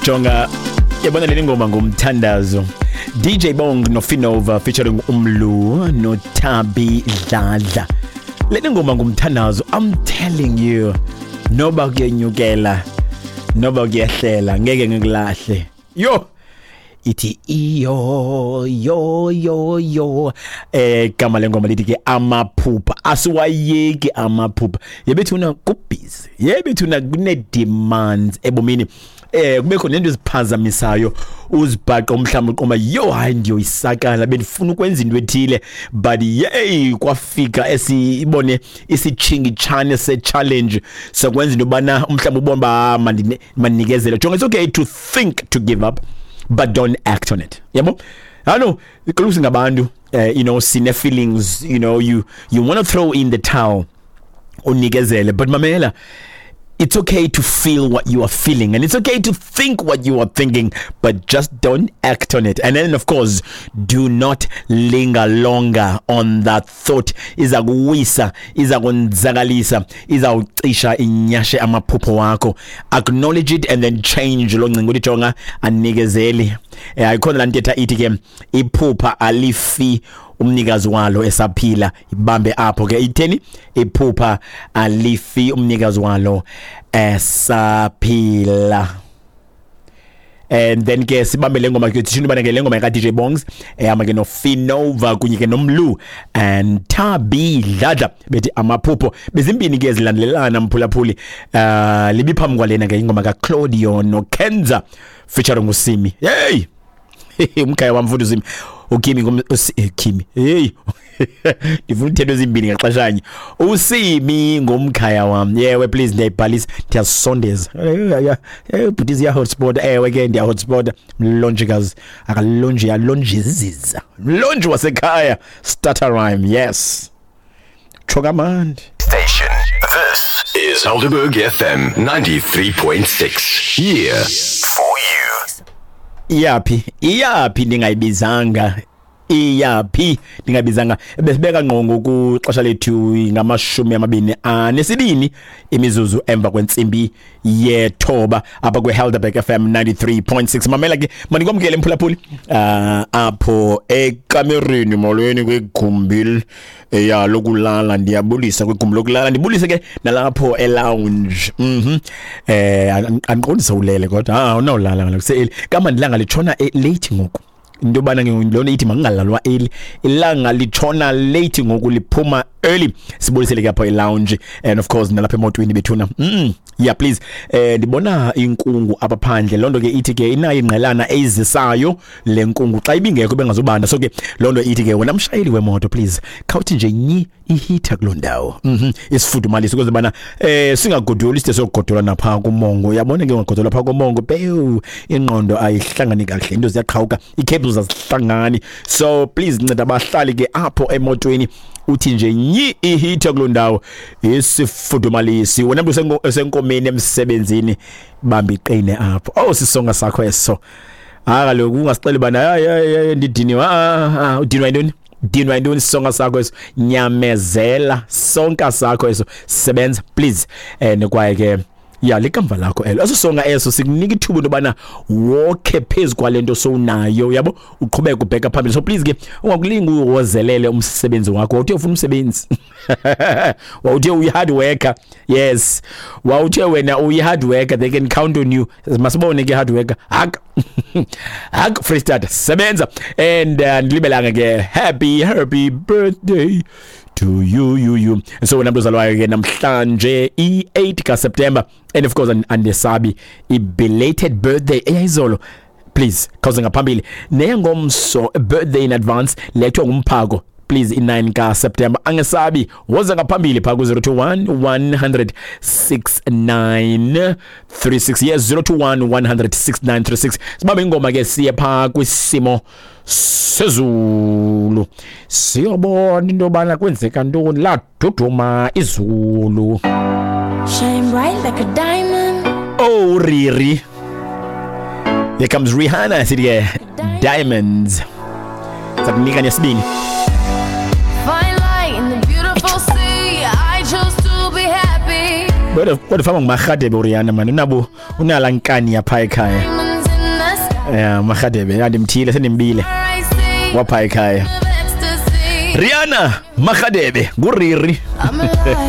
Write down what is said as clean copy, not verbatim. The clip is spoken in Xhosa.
Jonga, yabona le ngoma ngumthandazo. DJ Bong noFinova featuring Umlu noTabi Dladla. Le ngoma ngumthandazo, I'm telling you. Noba kuyenyukela, noba kuyehlela, ngeke ngikulahle. Yo! Ithi iyo yo yo yo, gama lengoma lithi ke amaphupha asiwayeki amaphupha. Yebethuna kubhizi, yebethuna kune demands ebomini, kubekho nento eziphazamisayo, uzibhaqa umhlawumbi uqoma yo hayi ndiyoyisakala, bendifuna ukwenza into ethile, but yey kwafika esibone isitshingitshane se-challenge sokwenza into yobana umhlawumbi ubone uba mandinikezele. Jonga, it's okay to think to give up, but don't act on it. Yabo? I know kaloku singabantu, sine feelings, you want to throw in the towel, unikezele, but mamela, it's okay to feel what you are feeling and it's okay to think what you are thinking, but just don't act on it. And then of course, do not linger longer on that thought. Iza kuwisa, iza konzakalisa, iza ucisha inyashe amaphupho wakho. Acknowledge it and then change lo ngcinga uthi jonga anikezeli. Ayikhona laa ntetha ithi ke iphupha alifi umnikazi walo esaphila. Ibambe apho ke, itheni? Iphupha alifi umnikazi walo esaphila. And then ke sibambe le ngoma ke, thina ubana ke le ngoma ka DJ Bongs ehamba ke noFinova kunye ke noMlu and Thabi Dladla, bethi amaphupho. Bezimbini ke zilandelelana, mphulaphuli. Libiphambi kwalena ke ingoma ka Claudio noKenza featuring uSimi. Hey, umkhaya wam futhi uSimi, uKimi, Kimi. Hey, ndifuna uthetha ezimbini ngaxeshanye. USimi ngumkhaya wam. Yewe, please, ndiyayibhalisa, ndiyasondeza. Bhuti, ziya hotspot. Ewe ke, ndiya hotspot. Mlonjikazi akalonji, alonjiziza mlonji wasekhaya. Starter rhyme, yes, tsho kamandi. Station. This is Helderberg FM 93.6. Here for you. Iyaphi, iyaphi ndingayibizanga, iyaphi ndingayibizanga? Besibeka ngqongo kuxesha lethu 22 imizuzu emva kwentsimbi yethoba apha kwe-Helderberg FM 93.6. Mamela ke, mandikwamkele mphulaphuli apho ekamereni. Molweni kwigumbi ya lokulala, ndiyabulisa kwigumbi lokulala, ndibulise ke nalapho e-lounge. Andiqondi sewulele, kodwa awunawulala kaloku se-early kamandi. Ilanga litshona late ngoku, into yobana ke loo nto ithi makungalalwa early. Ilanga litshona late ngoku, liphuma early. Sibulisele ke apha e-lounge and of course nalapha emotweni bethuna. Yeah, please, ndibona inkungu apha phandle. Loo nto ke ithi ke inayo ingqelana eyizisayo le nkungu, xa ibingekho bengazubanda. So ke loo nto ithi ke wena mshayeli wemoto, please khawuthi nje nyi i-heater kuloo ndawo, isifudumalise ukuze bana singagodoli, side sokugodola napha kumongo. Uyabona ke, ungagodola phaa kumongo, pewu, ingqondo ayihlangani kakuhle, into ziyaqhawuka, ii-cables azihlangani. So please nceda abahlali ke apho emotweni, uthi nje nyi i-heater kuloo ndawo, isifudumalisi. Wena mntu osenkomeni emsebenzini, bamba iqine apho. Oh, sisonga sakho eso. Hayi kaloku, ungasixeli bana hayi hayi hayi ndidiniwe. Ah, udinwa yintoni? Dinwa yintoni? Sisonga sakho eso, nyamezela, sonka sakho eso, sebenza please. And kwaye ke ya likamva lakho elo, eso songa eso sikunika ithuba into yobana wokhe phezu kwale nto sowunayo, yabo, uqhubeke ubheka phambili. So please ke ungakulingi uwozelele umsebenzi wakho. Wawuthe ufuna umsebenzi, wawuthe uyi-hard worker. Yes, wawuthe wena uyi-hard worker, they can count on you. Masibone ke, hard worker. Hak hak, Free Start, sebenza. And ndilibelanga ke, happy happy birthday to you, you, you. So wena mntu ozalwayo ke namhlanje i-8 kaSeptember, and of course andisabi i-belated birthday eyayizolo, please khawuze ngaphambili neyangomso, birthday in advance lethwa ngumphako. Please, i-9 kaSeptember, angesabi, woza ngaphambili phaa ku-021 100 6936. Yes, 021 100 6936. Sibambe ingoma ke, siye phaa kwisimo sezulu, siyobona into yobana kwenzeka ntoni. Laduduma izulu. Shine bright like a diamond. Oh, Riri. Here comes Rihanna, sithi ke Diamonds. Sakunika nesibini. Find light in the beautiful sea. I chose to be happy. Kodwa fama ngumarhadebe uRihanna, mani, unabo unala nkani yapha ekhaya. Diamonds. Yeah, Marhadebe, andimthile sendimbile I see wapha ekhaya. of ecstasy. Rihanna Marhadebe nguriri. I'm alive.